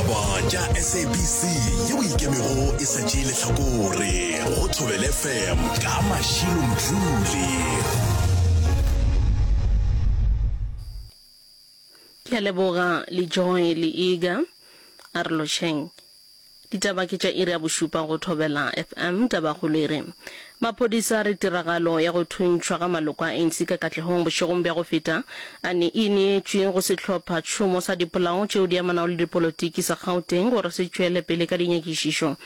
Ditaba tša SABC yeo e ikemego e sa tšee lehlakore go Thobela FM ka Mashilo Mdluli. Ke a leboga le Joy le Iga. A re lotšheng. Ditaba ke tša iri ya bošupa go Thobela FM. Tabakgolo e re, Maphodisa a re tiragalo ya go thuntšhwa ga maloko a ANC ka Katlehong bošegong bja go feta a ne e neetšwe go sehlopha tšhomo sa dipolao tšeo di amanago le dipolotiki sa Gauteng gore se tšwele pele ka dinyakišišo.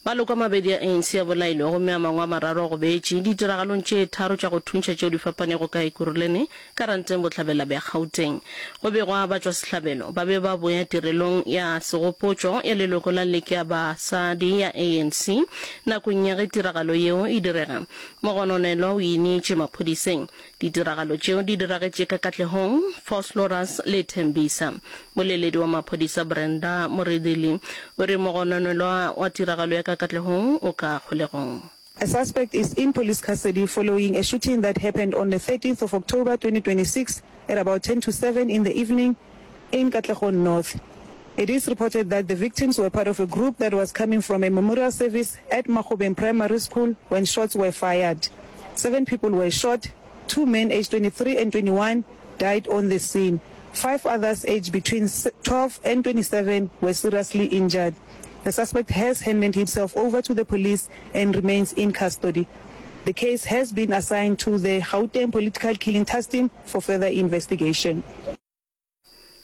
Maloko a mabedi a ANC a bolailwe gomme a mangwe a mararo a gobetše ditiragalong tše tharo tša go thuntšha tšeo di fapanego ka Ekurhuleni Ka Ranteng bohlabela bja Gauteng, go begwa batšwasehlabelo ba be ba boya tirelong ya segopotšo ya leloko la Liki ya Basadi ya ANC nakong ya ge tiragalo yeo e direga. Mogononelwa o ineetše maphodiseng. Ditiragalo tšeo di diragetše ka Katlehong, Vosloorus le Tembisa. Moleledi wa maphodisa Brenda Muridili o re mogononelwa wa tiragalo ya ka Katlehong o ka kgolegong. A suspect is in police custody following a shooting that happened on the 13th of October 2026 at about 10 to 7 in the evening in Katlehong North. It is reported that the victims were part of a group that was coming from a memorial service at Magobeng Primary School when shots were fired. Seven people were shot, two men aged 23 and 21 died on the scene. Five others aged between 12 and 27 were seriously injured. The suspect has handed himself over to the police and remains in custody. The case has been assigned to the Gauteng Political Killing Task Team for further investigation.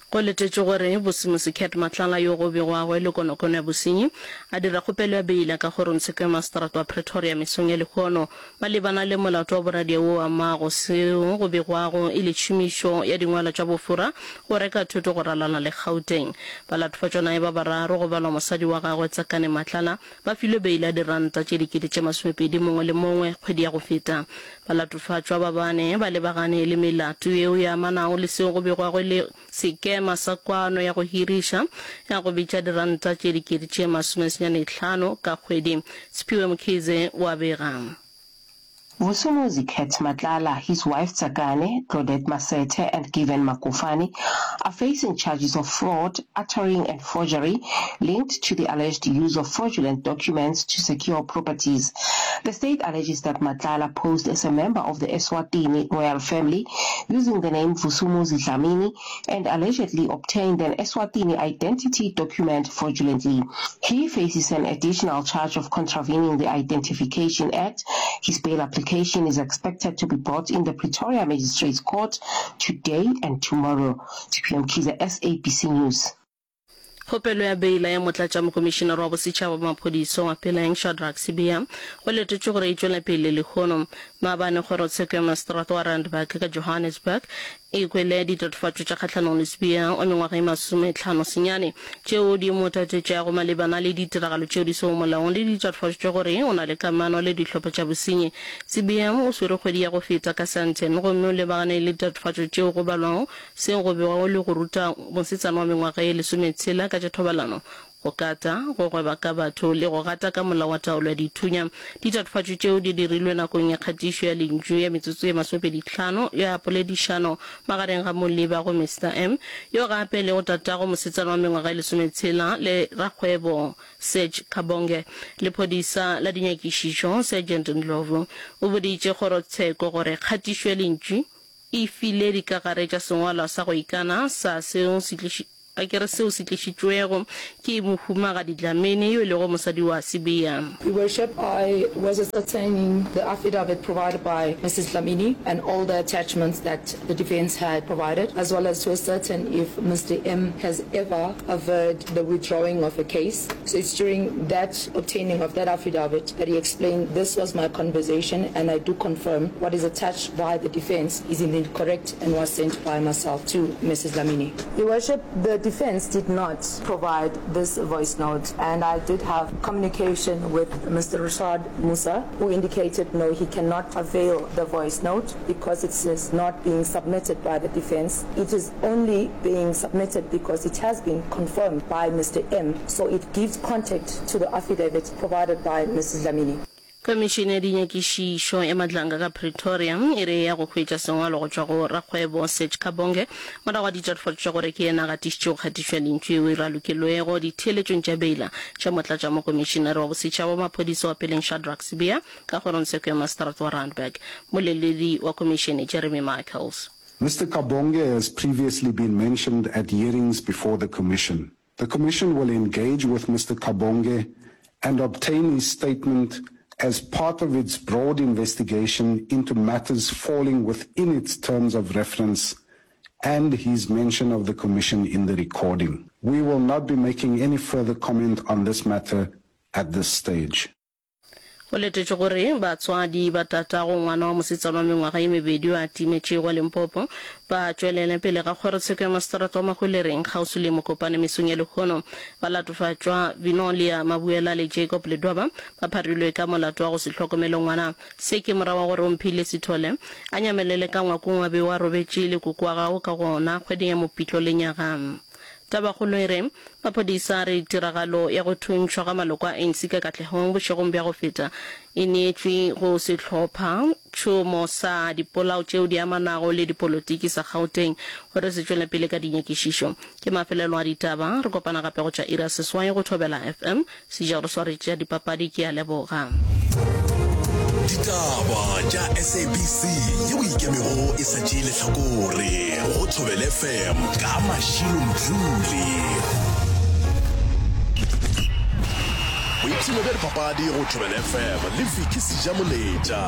Go letetšwe gore Bosimusi Cat Matlala yo go begwago e le konokono ya bosenyi a dira kgopelo ya beila ka kgorongtsheko ya maseterata wa Pretoria mesong ya lehono malebana le molato wa boradia wo o amago seo go begwago e le tšhomišo ya dingwalwa tša bofora go reka thoto go ralala le Gauteng. Balatofatšwa naye ba bararo, go balwa mosadi wa gagwe Tsakane Matlala, ba filwe beile ya diranta tše 20,000 mongwe le mongwe kgwedi ya go feta. Balatofatšwa ba bane ba lebagane le melato yeo e amanago le seo go begwago e le sekema sa kwano ya go hiriša ya go bitša diranta tše 95,000 ka kgwedi. Siphiwe Mkhize o a bega. Vusumuzi Cat Matlala, his wife Tsakane, Claudette Masethe and Given Makofane are facing charges of fraud, uttering and forgery linked to the alleged use of fraudulent documents to secure properties. The state alleges that Matlala posed as a member of the Eswatini royal family using the name Vusumuzi Dlamini and allegedly obtained an Eswatini identity document fraudulently. He faces an additional charge of contravening the Identification Act. His bail application is expected to be brought in the Pretoria Magistrates Court today and tomorrow. TPM Kiza, SABC News. Kgopelo ya beila ya Motlatšamokomišinare wa Bosetšhaba wa Maphodisa wa Peleng, Shadrack Sibiya, go letetšwe gore e tšwele pele lehono. Maabane kgorotsheko ya maseterata wa Randburg ka Johannesburg e kwele ditatofatšo tša kgahlanong le Sibiya wa mengwaga e masometlhano senyane tšeo di mo tatetšago malebana le ditiragalo tšeo di sego molaong le ditatofatšo tša gore o na le kamano le dihlopha tša bosenyi. Sibiya o swerwe kgwedi ya go feta ka Sandton gomme o lebagane le ditatofatšo tšeo go balwago Seo go begwago le go ruta mosetsana wa mengwaga ye lesometshela ka tša thobalano, go kata, go gweba ka batho le go gata ka molao wa taolo ya dithunya. Ditatofatšo tšeo di dirilwe nakong ya kgatišo ya lentšu ya metsotso ye masomepedihlano ya poledišano magareng ga Moliba go Mister M, yo gape e lego tatago mosetsana wa mengwaga ye lesometshela le rakgwebo Serge Kabonge. Lephodisa la dinyakišišo, Sergeant Ndlovu, o boditše kgorotsheko gore kgatišo ya lentšu E file dikagare tša sengwalwa sa go ikana sa seo se tliši, a ke re seo se tlišitšwego ke Mohumagadi Dlamini yo e lego mosadi wa Sibiya. Your Worship, I was ascertaining the affidavit provided by Mrs Dlamini and all the attachments that the defence had provided, as well as to ascertain if Mr M has ever averred the withdrawing of a case. So it's during that obtaining of that affidavit that he explained this was my conversation and I do confirm what is attached by the defence is indeed correct and was sent by myself to Mrs Dlamini. Your Worship, the defence did not provide this voice note and I did have communication with Mr Rashad Moosa who indicated no he cannot avail the voice note because it is not being submitted by the defence. It is only being submitted because it has been confirmed by Mr M so it gives contact to the affidavit provided by Mrs Dlamini. Khomišene ya Dinyakišišo ya Madlanga ka Pretoria e re e ya go hwetša sengwalo go tšwa go rakgwebo Serge Kabonge morago ga ditatofatšo tša gore ke yena a gatišitšego kgatišo ya lentšu yeo e ralokilwego ditheeletšong tša beila tša motlatšamokomišenare wa bosetšhaba wa maphodisa wa peleng Shadrack Sibiya ka kgorongtsheko ya maseterata wa Randburg. Mmoleledi wa khomišene Jeremy Michaels. Mister Kabonge has previously been mentioned at hearings before the commission. The commission will engage with Mr Kabonge and obtain his statement as part of its broad investigation into matters falling within its terms of reference and his mention of the commission in the recording. We will not be making any further comment on this matter at this stage. Go letetšwe gore batswadi ba tatago ngwana wa mosetsana wa mengwaga ye mebedi yo a timetšego wa Limpopo ba tšwelele pele ga kgorotsheko ya maseterata wa Mahwelereng kgauswi le Mokopane mesong ya lehono. Balatofatšwa Vinolia Mabuela le Jacob Ledwaba ba pharilwe ka molato wa go se hlokomele ngwana. Se ke morago ga gore Omphile Sithole a nyamelele ka ngwakong wa be wa robetše le koko wa gagwe ka gona kgweding ya Mopitlo lenyaga. Tabakgolo e re, Maphodisa a re tiragalo ya go thuntšhwa ga maloko a ANC ka Katlehong bošegong bja go feta e neetšwe go sehlopha tšhomo sa dipolao tšeo di amanago le dipolotiki sa Gauteng gore se tšwele pele ka dinyakišišo. Ke mafelelo a ditaba, re kopana gape go tša iri ya seswai go Thobela FM. Seja re sware tša dipapadi ke a leboga. Ditaba tša SABC yeo e ikemego e sa tšee lehlakore go Thobela FM ka Mashilo Mdluli. Boipshino bja dipapadi go Thobela FM le Vicky Sejamoletša.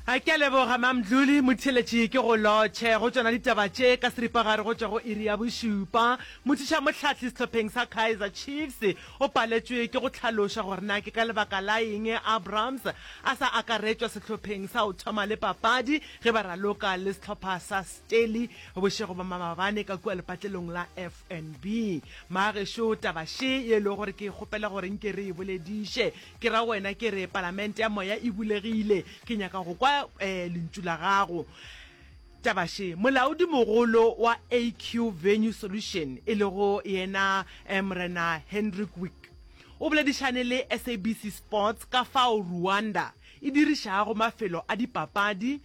A ke a leboga Mamdluli Motheeletši ke go lotšhe go tšona ditaba tše ka seripagare go tšwa go iri ya bošupa. Mothušamohlahli sehlopheng sa Kaizer Chiefs o paletšwe ke go hlaloša gore na ke ka lebaka la eng Abrams a sa akaretšwa sehlopheng sa go thoma le papadi ge ba raloka le sehlopha sa Stellie bošego ba maabane ka kua lepatlelong la FNB. Magešo taba še ye e lego gore ke kgopela gore nke re e bolediše Ke ra wena ke re palamente ya moya e bulegile. Ke nyaka go kwa lentšu la gago. Taba še, molaodimogolo wa AQ Venue Solution, e lego yena Morena Hendrik Wick, o boledišane le SABC Sports ka fao Rwanda e dirišago mafelo a dipapadi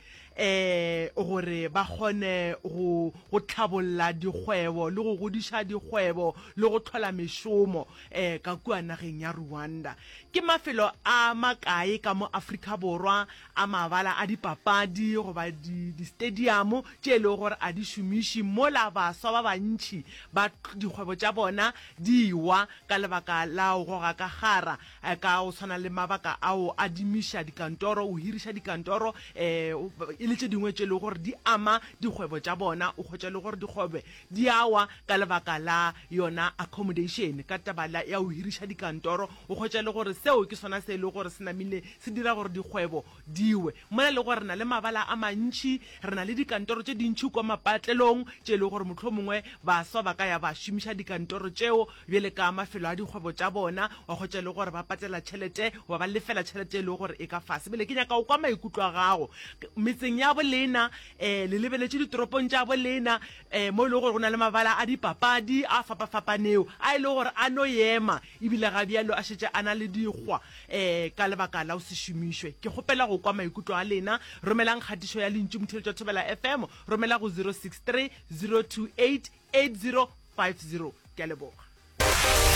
gore ba kgone go go tlhabolla dikgwebo le go godiša dikgwebo le go hlola mešomo. eh, ka kua nageng ya Rwanda. Ke mafelo a makae ka mo Afrika Borwa a mabala a dipapadi goba di-stadium tše e lego gore a di šomiše mola baswa ba bantši ba dikgwebo tša bona di wa ka lebaka la go goga ka kgara eh, ka go tshwana le mabaka ao a dimiša dikantoro, o hiriša dikantoro eh, e le tše dingwe tše e lego gore di ama dikgwebo tša bona, o hwetša e le gore dikgwebo di a wa ka lebaka la yona accommodation, ka taba la ya go hiriša dikantoro, o hwetša e le gore seo ke sona se e lego gore se namile se dira gore dikgwebo di we. Mola e le gore re na le mabala a mantši, re na le dikantoro tše dintši kua mapatlelong tše e lego gore mohlomongwe baswa ba ka ya ba šomiša dikantoro tšeo bjale ka mafelo a dikgwebo tša bona, wa hwetša e le gore ba patela tšhelete goba ba lefela tšhelete e lego gore e ka fase. Bjale ke nyaka go kwa maikutlo a gago metseng ya bolena, um le lebeletše ditoropong tša bolena, um mo e lego gore go na le mabala a dipapadi a fapafapanego a e lego gore a no ema ebile ga bjalo a šetše a na le dikgwa um ka lebaka la go se šomišwe. Ke kgopela go kwa maikutlo a lena. Romelang kgatišo ya lentšu Motheeletši wa Thobela FM, romela go 063 028 8050. Ke a leboga.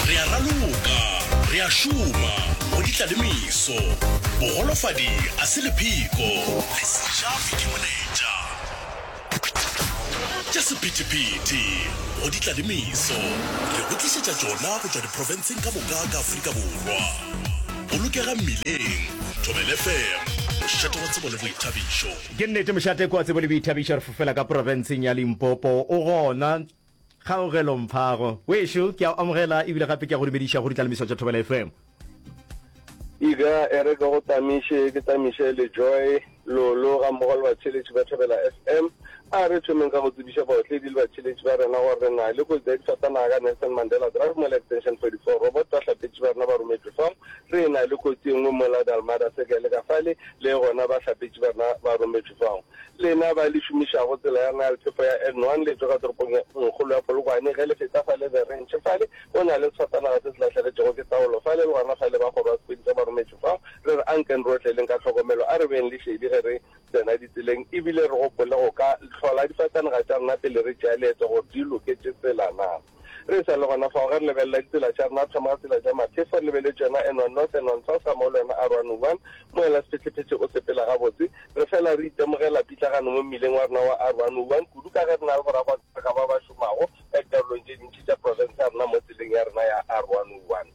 Re a raloka, re a šoma, go di tla le meso. Bogolofadi a se lepheko, le sejafi ke moletša. Tša sephethephethe, go di tla le meso. Re go tlišetša tšona go tšwa diprofenseng ka moka ka Afrika Borwa. Bolokega mmileng, Thobela FM, mošate wa tsebo le boithabišo. Ke nnete mošate kwa tsebo le boithabišo re fofela ka profenseng ya Limpopo. O gona Kgaogelo Mphago. Wešo, ke a o amogela ebile gape ke a go dumediša go ditlalemiso tša Thobela FM. Iga, e re ke go tamiše, ke tamiše le Joy, Lolo ga mmogo le batheeletši ba Thobela FM. A re thomeng ka go tsebiša baotledi le batšheletši ba rena gore re na le kotsi ya difatanaga ka Nelson Mandela Drive mola Extension 44 Robot bahlapetši ba rena ba rometšwe fao. Re na le kotsi e nngwe mola Dalmada Circle ka fale le gona bahlapetši ba rena ba rometšwe fao. Lena ba le šomišago tsela ya rena ya lephefo ya N1 le tšwa ka toropong ye kgolo ya Polokwane ge le feta fale The Ranch fale go na le sefatanaga se se lahlegetšego ke taolo fale le gona fale ba kgoro ya sepodisa ba rometšwe fao. Re re anken re otleleng ka tlhokomelo a re beng le šedi ge re tsena ditseleng e bile re gopole go ka hlola difatanaga tša rena pele re tšea leeto gore di loketše tsela na. Re sa le gona fao, ge re lebelela ditsela tša rena, re thoma ka tsela tša maphefo, re lebeletše yona N1 North, N1 South gammogo le yona R101, moela sephethephethe o sepela gabotse. Re fela re itemogela pitlagano mo mmileng wa rena wa R101, kudu ka ge re na le borakontraka ba ba šomago ka dikarolong tše dintši tša profense ya rena mo tseleng ya rena ya R101.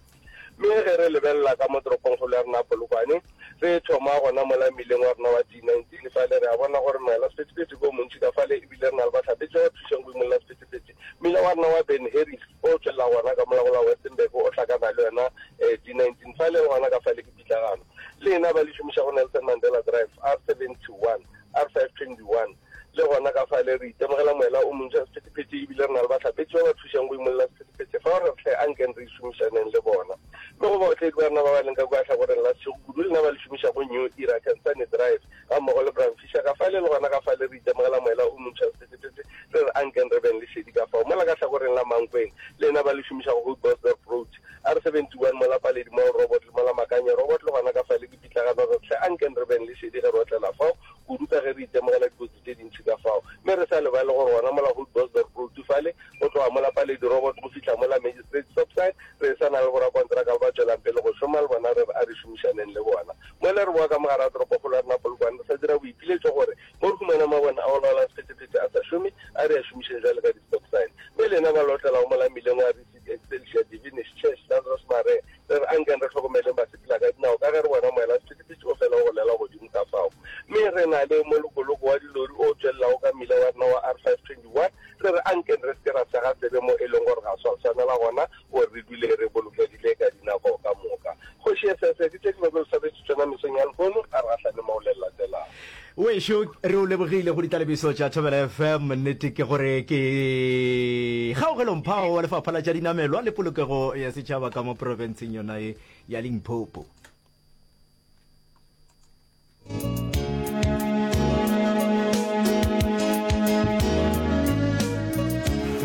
Mme ge re lebelela ka mo toropongkgolo ya rena ya Polokwane, re thoma gona mola mmileng wa rena wa D19 fale, re a bona gore moela sephethephethe ke o montši ka fale, ebile re na le bahlapetši ba ba thušang go imolla sephethephethe. Mmila wa rena wa Ben Harris o tšwelela gona ka mola go la Westenburg o hlakana le yona D19 fale, le gona ka fale ke pitlagano. Lena ba le šomišago Nelson Mandela Drive, R71, R521, Le gona ka fale re itemogela moela o montši wa sephethephethe e bile re na le bahlapetši ba ba thušang go imolla sephethephethe fao re re hle ankeng re šomišaneng le bona. Mme go baotledi ba rena ba ba leng ka kua hlakoreng la Seshego kudu lena ba le šomišago New Era Kensani Drive gammogo le Bram Fischer ka fale le gona ka fale re itemogela moela o montši wa sephethephethe re re ankeng re beng le šedi ka fao. Mola ka hlakoreng la Mankweng lena ba le šomišago Houtbosdorp Road, R71 mola Paledi Mall Robot le mola Makanye Robot le gona ka fale ke pitlagano re re hle ankeng re beng le šedi ge re otlela fao kudu ka ge re itemogela dikotsi tše dintši ka fao. Mme re sa lebale gore gona mola Houtbosdorp Road fale, go tloga mola Paledi Robot go fihla mola Magistrate Stop Sign, re sa na le borakontraka ba ba tšwelang pele go šoma le bona, re re a re šomišaneng le bona. Mola re boa ka mogare ga toropokgolo ya rena Polokwane, re sa dira boipiletšo gore mo re humana mabone a go laola sephethephethe a sa šome, a re a šomišeng bjale ka di-stop sign. Mme lena ba le otlelago mola mmileng wa Receipt Excelsior, Divinish Church, Lazarus Maree, Re re ankeng re hlokomeleng basepela ka dinao ka ge re bona moela sephethephethe o fela o golela godimo ka fao. Mme re na le molokoloko wa dilori o tšwelelago ka mmila wa rena wa R521. Re re ankeng re se ke ra sega tsebe mo e leng gore ga swa swanela gona gore re dule re bolokegile ka dinako ka moka. Kgoši Esese, ke tše ke bego ke swaretše tšona mesong ya lehono, a re gahlane mo go le latelago. Wešo, re o lebogile go ditlalebiso tša Thobela FM. Nnete ke gore ke Kgaogelo Mphago wa Lefapha la tša Dinamelwa le Polokego ya Setšhaba ka mo profenseng yona ye ya Limpopo.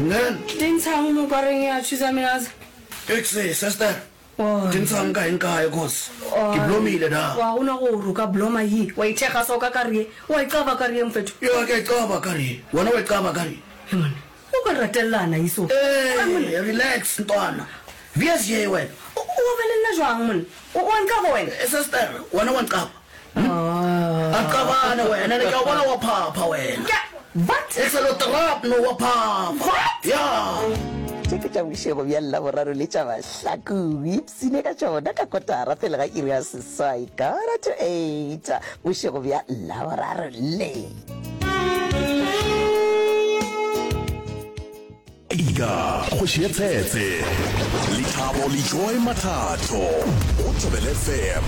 Nen. Dintshang mo kareng ya thusa minaza. Exe, sister. Di ntshang kae nkae cause ke blomile da. Wa gona gore o ka bloma ye wa ithekga so ka kare ye wa e caba kare ye mfetho. Yo ke e caba kare ye wena wa e caba kare ye. He monna o ka ratellana ye so. Ee relax ntwana VS ye wena. O ba le nna jwang monna o wa ncaba wena. Sister wena wa ncaba. A qabane wena ne ke a bona wa phapha wena. Ke what? E se lo trap no wa phapha. What? Yeah. Tše ke tša bošego bja Laboraro le tša Mahlakong. Ipshine ka tšona ka kotara pele ga iri ya seswai, quarter to eight, bošego bja Laboraro le. Ika, kgoši ya tshetse. Lethabo le Joy Mathatho go Thobela FM.